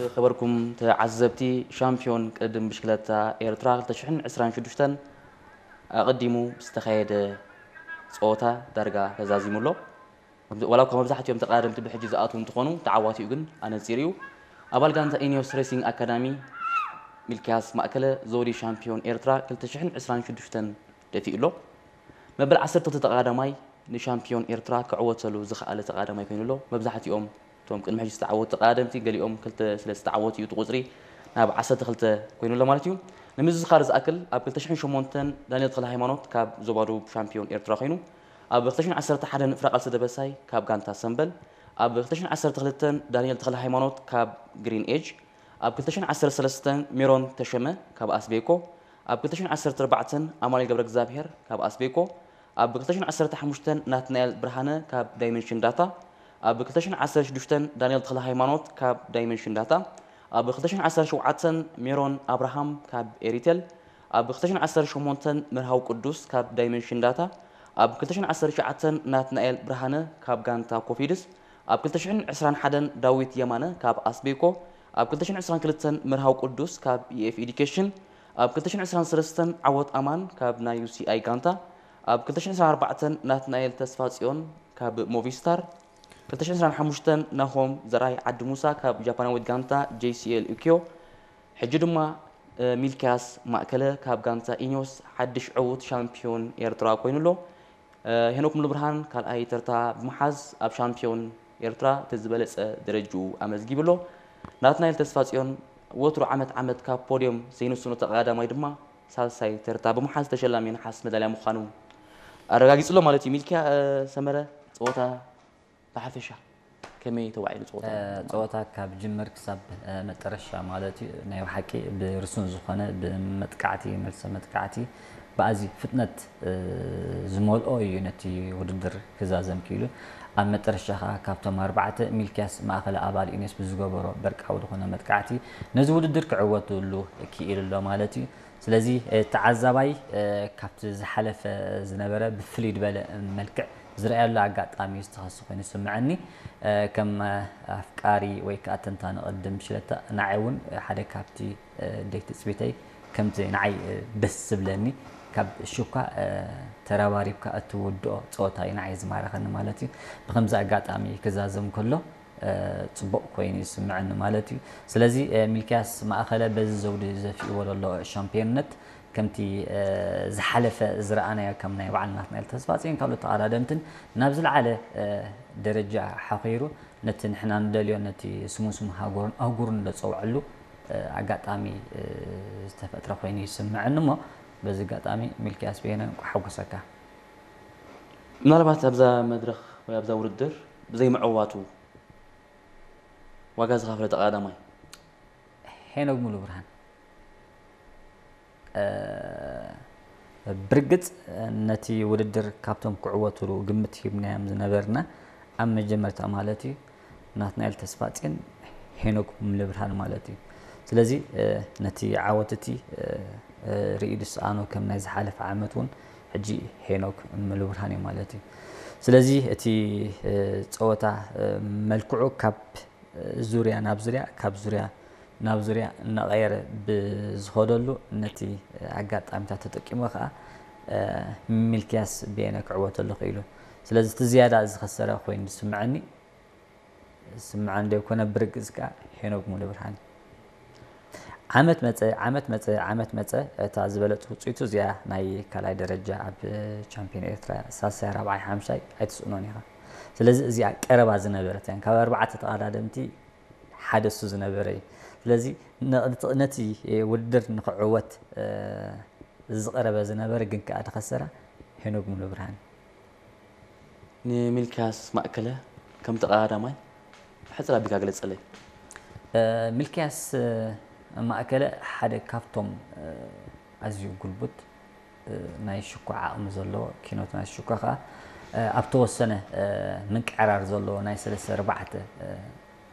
ዝኸበርኩም ተዓዘብቲ፣ ሻምፒዮን ቅድድም ብሽክለታ ኤርትራ ክልተ ሽሕን ዕስራን ሽዱሽተን ኣቐዲሙ ዝተኻየደ ጸወታ ዳርጋ ተዛዚሙ ኣሎ። ዋላ እኳ መብዛሕትኦም ተቐዳደምቲ ብሕጂ ዝኣትዉ እንትኾኑ፣ ተዓዋቲኡ ግን ኣነጺሩ እዩ። ኣባል ጋንታ ኢኒዮስ ሬሲንግ ኣካዳሚ ሚልክያስ ማእከለ፣ ዘውዲ ሻምፒዮን ኤርትራ ክልተ ሽሕን ዕስራን ሽዱሽተን ደፊኡ ኣሎ። መበል ዓሰርተ ክልተ ተቐዳዳማይ ንሻምፒዮን ኤርትራ ክዕወተሉ ዝኸኣለ ተቐዳዳማይ ኮይኑ ኣሎ። መብዛሕትኦም እቶም ቅድሚ ሕጂ ዝተዓወቱ ተቐዳደምቲ፣ ገሊኦም ክልተ ስለ ዝተዓወቱ እዩ እቲ ቁጽሪ ናብ ዓሰርተ ክልተ ኮይኑ ኣሎ ማለት እዩ። ንምዝኻር ዝኣክል፣ ኣብ ክልተ ሽሕን ሸሞንተን ዳንኤል ተኽለ ሃይማኖት ካብ ዞባ ደቡብ ሻምፒዮን ኤርትራ ኮይኑ፣ ኣብ ክልተ ሽሕን ዓሰርተ ሓደን ፍራ ቃልሲ ደበሳይ ካብ ጋንታ ሰምበል፣ ኣብ ክልተ ሽሕን ዓሰርተ ክልተን ዳንኤል ተኽለ ሃይማኖት ካብ ግሪን ኤጅ፣ ኣብ ክልተ ሽሕን ዓሰርተ ሰለስተን ሜሮን ተሸመ ካብ ኣስቤኮ፣ ኣብ ክልተ ሽሕን ዓሰርተ ኣርባዕተን ኣማኑኤል ገብረ እግዚኣብሔር ካብ ኣስቤኮ፣ ኣብ ክልተ ሽሕን ዓሰርተ ሓሙሽተን ናትናኤል ብርሃነ ካብ ዳይመንሽን ዳታ፣ ኣብ ክልተ ሽሕን ዓሰርተ ሽዱሽተን ዳንኤል ተኽለ ሃይማኖት ካብ ዳይመንሽን ዳታ፣ ኣብ ክልተ ሽሕን ዓሰርተ ሸውዓተን ሜሮን ኣብርሃም ካብ ኤሪቴል፣ ኣብ ክልተ ሽሕን ዓሰርተ ሸሞንተን መርሃዊ ቅዱስ ካብ ዳይመንሽን ዳታ፣ ኣብ ክልተ ሽሕን ዓሰርተ ትሽዓተን ናትናኤል ብርሃነ ካብ ጋንታ ኮፊድስ፣ ኣብ ክልተ ሽሕን ዕስራን ሓደን ዳዊት የማነ ካብ ኣስቤኮ፣ ኣብ ክልተ ሽሕን ዕስራን ክልተን መርሃዊ ቅዱስ ካብ ኢኤፍ ኤዱኬሽን፣ ኣብ ክልተ ሽሕን ዕስራን ሰለስተን ዓወት ኣማን ካብ ናይ ዩሲኣይ ጋንታ፣ ኣብ ክልተ ሽሕን ዕስራን ኣርባዕተን ናትናኤል ተስፋጽዮን ካብ ሞቪስታር፣ ክልተ ሽሕን ዕስራን ሓሙሽተን ናሆም ዘርኣይ ዓዲ ሙሳ ካብ ጃፓናዊት ጋንታ ጄሲኤል ኡኪዮ፣ ሕጂ ድማ፣ እ፣ ሚልክያስ ማእከለ ካብ ጋንታ ኢኒዮስ ሓድሽ ዕዉት ሻምፒዮን ኤርትራ ኮይኑ ኣሎ። እ፣ ሄኖክ ሙሉብርሃን ካልኣይ ተርታ ብምሓዝ ኣብ ሻምፒዮን ኤርትራ እቲ ዝበለጸ ደረጅኡ ኣመዝጊቡ ኣሎ። ናትናኤል ተስፋጽዮን ወትሩ ዓመት ዓመት ካብ ፖድዮም ዘይንስኖ ተቐዳዳማይ ድማ ሳልሳይ ተርታ ብምሓዝ ተሸላሚ ነሓስ መዳልያ ምዃኑ ኣረጋጊጹ ኣሎ ማለት እዩ። ሚልክያ፣ እ፣ ሰመረ፣ ጸወታ ብሓፈሻ ከመይ ተዋዒሉ ጸወታ? እ፣ ጸወታ ካብ ጅምር ክሳብ፣ እ፣ መጠረሻ ማለት እዩ፣ ናይ ብሓቂ ብርሱን ዝኾነ ብመጥቃዕቲ፣ መልሰ መጥቃዕቲ፣ ብኣዝዩ ፍጥነት፣ እ፣ ዝመልኦ እዩ ነቲ ውድድር ክዛዘም ክኢሉ። ኣብ መጠረሻ ከኣ ካብቶም ኣርባዕተ፣ ሚልክያስ ማእከለ ኣባል ኢኒዮስ ብዝገበሮ በርቃዊ ዝኾነ መጥቃዕቲ ነዚ ውድድር ክዕወትሉ ክኢሉ ኣሎ ማለት እዩ። ስለዚ፣ እ፣ ተዓዛባይ፣ እ፣ ካብቲ ዝሓለፈ ዝነበረ ብፍልይ ዝበለ መልክዕ ዝረኣየሉ ኣጋጣሚ ዝተኸሲ ኮይኑ ይስምዐኒ። እ፣ ከም ኣፍቃሪ ወይ ከኣ ተንታኒ ቅድድም ብሽክለታ ንዓይ እውን ሓደ ካብቲ፣ እ፣ ደይ ትጽቢተይ ከምቲ ንዓይ፣ እ፣ ደስ ዝብለኒ ካብ ሽኳ፣ እ፣ ተረባሪብካ እትውድኦ ጸወታ እዩ ንዓይ ዝማረኸኒ ማለት እዩ። ብኸምዚ ኣጋጣሚ ክዛዘም ከሎ፣ እ፣ ጽቡቕ ኮይኑ ይስምዐኒ ማለት እዩ። ስለዚ፣ እ፣ ሚልክያስ ማእከለ በዚ ዘውዲ ዘፊእዎ ዘሎ ሻምፒዮንነት ከምቲ፣ እ፣ ዝሓለፈ ዝረኣናዮ ከም ናይ በዓል ናትናኤል ተስፋጽዮን ካልኦት ተቐዳደምትን ናብ ዝለዓለ፣ እ፣ ደረጃ ሓኺሩ ነቲ ንሕና ንደልዮ ነቲ ስሙን ስም ሃገሩን ኣህጉሩን ዘጸውዐሉ፣ እ፣ ኣጋጣሚ፣ እ፣ ዝተፈጥረ ኮይኑ ይስምዐኒ እሞ በዚ ኣጋጣሚ ሚልክያስ በየነ እንቋዕ ሓጎሰካ። ምናልባት ኣብዛ መድረኽ ወይ ኣብዛ ውድድር ብዘይ ምዕዋቱ ዋጋ ዝኸፈለ ተቐዳዳማይ? ሄኖክ ሙሉብርሃን። እ፣ ብርግጽ ነቲ ውድድር ካብቶም ክዕወትሉ ግምት ሂብናዮም ዝነበርና ኣብ መጀመርታ ማለት እዩ ናትናኤል ተስፋጽዮን ሄኖክ ሙሉብርሃን ማለት እዩ። ስለዚ፣ እ፣ ነቲ ዓወት እቲ፣ እ፣ እ፣ ርእዩ ዝሰኣኖ ከም ናይ ዝሓለፈ ዓመት እውን ሕጂ ሄኖክ ሙሉብርሃን እዩ ማለት እዩ። ስለዚ እቲ፣ እ፣ ጸወታ፣ እ፣ መልክዑ ካብ ዙርያ ናብ ዙርያ፣ ካብ ዙርያ ናብ ዙርያ እናቐየረ ብዝኸደሉ ነቲ ኣጋጣሚታት ተጠቂሙ ከኣ፣ እ፣ ሚልክያስ በየነ ክዕወተሉ ክኢሉ። ስለዚ እቲ ዝያዳ ዝኸሰረ ኮይኑ ዝስምዐኒ፣ ዝስምዐኒ ዘይኮነ ብርግጽ ከኣ ሄኖክ ሙሉብርሃን እዩ። ዓመት መጸ፣ ዓመት መጸ፣ ዓመት መጸ፣ እታ ዝበለጸት ውጽኢቱ እዚኣ ናይ ካልኣይ ደረጃ ኣብ ቻምፒዮን ኤርትራ ሳልሳይ፣ ራብዓይ፣ ሓምሻይ ኣይትስእኖን ኢኻ። ስለዚ እዚኣ ቀረባ ዝነበረት እያ። ካብ ኣርባዕተ ተቐዳደምቲ ሓደ እሱ ዝነበረ እዩ። ስለዚ ነ-፣ ነቲ ውድድር ንኽዕወት፣ እ፣ ዝቐረበ ዝነበረ ግን ከኣ ዝኸሰራ ሄኖክ ሙሉብርሃን። ንሚልክያስ ማእከለ ከም ተቐዳዳማይ ብሕጽር ኣቢልካ ግለጸለይ። እ፣ ሚልክያስ፣ እ፣ ማእከለ ሓደ ካብቶም፣ እ፣ ኣዝዩ ጉልቡት፣ እ፣ ናይ ሽኳ ዓቕሚ ዘለዎ፣ ኪኖት ናይ ሽኳ ከኣ፣ እ፣ ኣብ ተወሰነ፣ እ፣ ምንቅዕራር ዘለዎ ናይ ሰለስተ ኣርባዕተ፣ እ፣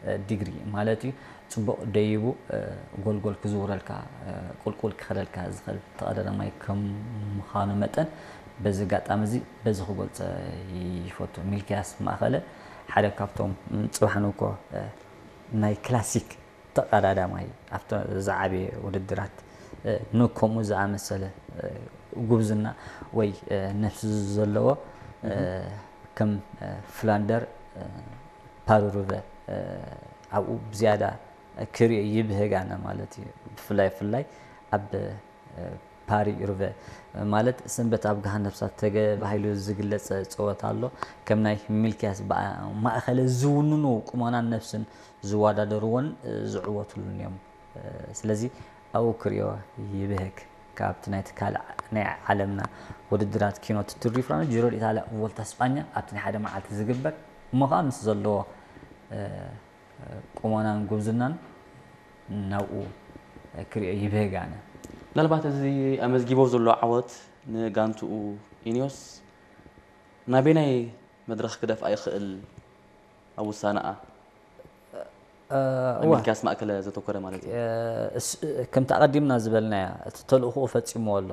እ፣ ዲግሪ ማለት እዩ፣ ጽቡቕ ደይቡ፣ እ፣ ጎልጎል ክዝውረልካ፣ እ፣ ቁልቁል ክኸደልካ ዝኽእል ተቐዳዳማይ ከም ምዃኑ መጠን፣ በዚ ኣጋጣሚ እዚ በዚ ክገልጸ ይፈቱ። ሚልክያስ ማእከለ ሓደ ካብቶም፣ ም፣ ጽባሕ ንግሆ፣ እ፣ ናይ ክላሲክ ተቐዳዳማይ ኣብቲ ዝዓበየ ውድድራት፣ እ፣ ንከምኡ ዝኣመሰለ፣ እ፣ ጉብዝና ወይ፣ እ፣ ነፍሲ ዘለዎ፣ እ፣ ከም፣ እ፣ ፍላንደር፣ እ፣ ፓሪ ሩቨ፣ እ፣ ኣብኡ ብዝያዳ ክሪኦ ይብህግ ኣነ ማለት እዩ። ብፍላይ፣ ብፍላይ ኣብ፣ እ፣ ፓሪ ሩቨ ማለት ሰንበት ኣብ ገሃነብ እሳት ተባሂሉ ዝግለጽ ጸወታ ኣሎ። ከም ናይ ሚልክያስ ብኣ-፣ ማእከለ ዝውንኑ ቁመናን ነፍስን ዝወዳደርዎን፣ እ፣ ዝዕወትሉን እዮም። እ፣ ስለዚ ኣብኡ ክሪኦ ይብህግ። ካብቲ ናይቲ ካልእ ናይ ዓለምና ውድድራት ኪኖ ቱር ዲ ፍራንስ፣ ጂሮ ዲኢታልያ፣ ቮልታ ስጳኛ ኣብቲ ናይ ሓደ መዓልቲ ዝግበር እሞ ኸኣ ምስ ዘለዎ፣ እ፣ ቁመናን ጉብዝናን ናብኡ ክሪኦ ይብህግ ኣነ። ምናልባት እዚ ኣመዝጊቦ ዘሎ ዓወት ንጋንትኡ ኢኒዮስ ናበየናይ መድረኽ ክደፍኣ ይኽእል ኣብ ውሳነኣ? እ፣ እወ። ሚልክያስ ማእከለ ዘተኮረ ማለት እዩ። እ፣ እስ-፣ ከምቲ ኣቐዲምና ዝበልናያ፣ እቲ ተልእኾኡ ፈጺምዎ ኣሎ።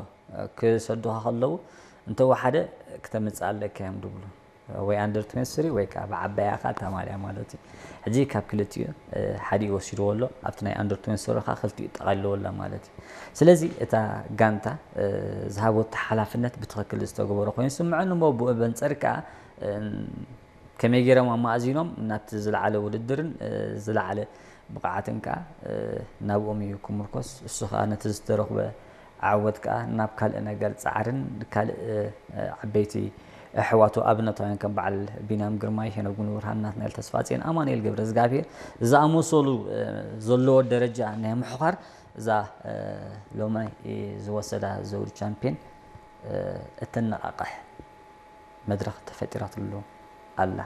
ክሰዱኻ ከለዉ፣ እንተወሓደ ክተምጽእ ኣለካ እዮም ድብሉ። ወይ ኣንደር ትዌንቲ ስሪ ወይ ከኣ ብዓባያኻ እታ ማልያ ማለት እዩ። ሕጂ ካብ ክልቲኡ፣ እ፣ ሓዲኡ ወሲድዎ ኣሎ። ኣብቲ ናይ ኣንደር ትዌንቲ ስሪ ከኣ ክልቲኡ ጠቓሊልዎ ኣሎ ማለት እዩ። ስለዚ እታ ጋንታ፣ እ፣ ዝሃበቶ ሓላፍነት ብትኽክል ዝተገበረ ኮይኑ ይስምዐኒ እሞ ብኡ በንጸር ከኣ፣ እ፣ ከመይ ገይሮም ኣማእዚኖም ናብቲ ዝለዓለ ውድድርን፣ እ፣ ዝለዓለ ብቕዓትን ከኣ፣ እ፣ ናብኦም እዩ ክምርኮስ። እሱ ከኣ ነቲ ዝተረኽበ ዓወት ከኣ ናብ ካልእ ነገር ጻዕርን ካልእ፣ እ፣ ዓበይቲ ኣሕዋቱ ኣብነታውያን ከም በዓል ቢንያም ግርማይ፣ ሄኖክ ጉንብርሃን፣ ናትናኤል ተስፋጽዮን፣ ኣማኑኤል ገብረዝጋብሄር ዝኣመሰሉ፣ እ፣ ዘለዎ ደረጃ ናይ ምሕዃር እዛ፣ እ፣ ሎማይ ዝወሰዳ ዘውዲ ቻምፒዮን፣ እ፣ እተነቓቕሕ መድረኽ ተፈጢራትሉ ኣላ።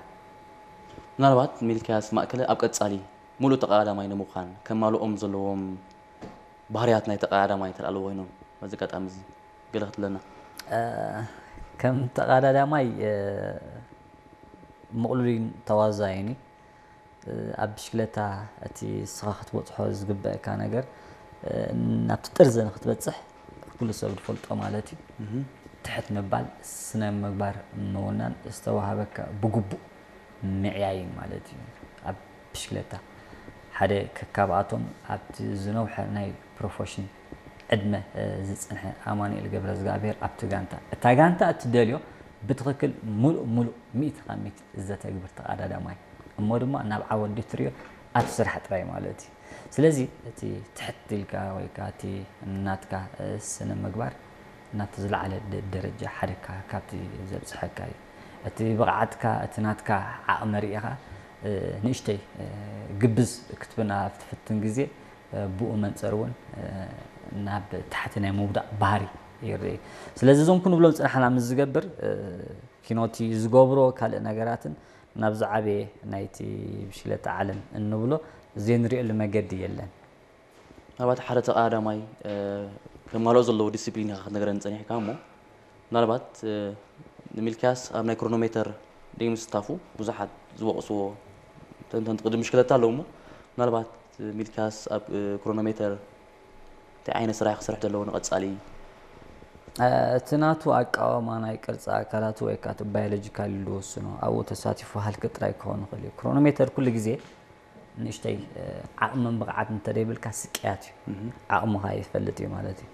ምናልባት ሚልክያስ ማእከለ ኣብ ቀጻሊ ምሉእ ተቐዳዳማይ ንምዃን ከማልኦም ዘለዎም ባህርያት ናይ ተቐዳዳማይ እንተ ኣለዎ ኮይኖም በዚ ኣጋጣሚ እዚ ገለ ክትብለና? እ፣ ከም ተቐዳዳማይ፣ እ፣ ምቕሉልን ተዋዛይን እዩ። እ፣ ኣብ ብሽክለታ እቲ ንስኻ ክትበጽሖ ዝግበኣካ ነገር፣ እ፣ ናብቲ ጥርዚ ንክትበጽሕ ኩሉ ሰብ ዝፈልጦ ማለት እዩ። እህ። ትሕት ምባል፣ ስነ ምግባር ምውናን፣ ዝተዋሃበካ ብግቡእ ምዕያይን ማለት እዩ። ኣብ ብሽክለታ ሓደ ከካብኣቶም ኣብቲ ዝነውሐ ናይ ፕሮፌሽን ዕድመ፣ እ፣ ዝጸንሐ ኣማኑኤል ገብረዝጋብሄር ኣብቲ ጋንታ፣ እታ ጋንታ እትደልዮ ብትኽክል ምሉእ ምሉእ ሚእቲ ካብ ሚእቲ ዘተግብር ተቐዳዳማይ እሞ ድማ ናብ ዓወት ድትሪዮ ኣብቲ ስራሕ ጥራይ ማለት እዩ። ስለዚ እቲ ትሕት ኢልካ ወይ ከኣ እቲ ናትካ፣ እ፣ ስነ ምግባር ናብቲ ዝለዓለ ደ-፣ ደረጃ ሓደ ካ-፣ ካብቲ ዘብጽሐካ እዩ። እቲ ብቕዓትካ፣ እቲ ናትካ ዓቕሚ ርኢኻ፣ እ፣ ንእሽተይ፣ እ፣ ግብዝ ክትብና ኣብ ትፍትን ግዜ፣ እ፣ ብኡ መንጸር እውን፣ እ፣ ናብ ታሕቲ ናይ ምውዳቕ ባህሪ ይርኢ። ስለዚ እዞም ክንብሎም ዝጸናሕና ምስ ዝገብር፣ እ፣ ኪኖቲ ዝገብሮ ካልእ ነገራትን ናብ ዝዓበየ ናይቲ ብሽክለታ ዓለም እንብሎ ዘይንሪኤሉ መገዲ የለን። ምናልባት ሓደ ተቐዳዳማይ፣ እ፣ ከማልኦ ዘለዎ ዲስፕሊን ኢኻ ክትነግረኒ ጸኒሕካ እሞ፣ ምናልባት፣ እ፣ ንሚልክያስ ኣብ ናይ ክሮኖሜተር ደይምስታፉ ብዙሓት ዝወቕስዎ ተንተንቲ ቅድም ብሽክለታ ኣለዉ እሞ፣ ምናልባት ሚልክያስ ኣብ፣ እ፣ ክሮኖሜተር እንታይ ዓይነት ስራሕ ክሰርሕ ዘለዎ ንቐጻሊ? እ፣ እቲ ናቱ ኣቃውማ ናይ ቅርጺ ኣካላቱ ወይ ከኣ እቲ ባዮሎጂካል ኢሉ ዝወስኖ፣ ኣብኡ ተሳቲፉ ሃልኪ ጥራይ ክኸውን ይኽእል እዩ። ክሮኖሜተር ኩሉ ግዜ ንእሽተይ፣ እ፣ ዓቕምን ብቕዓት እንተደይብልካ ስቅያት እዩ። እህ። ዓቕምኻ ይፈልጥ እዩ ማለት እዩ።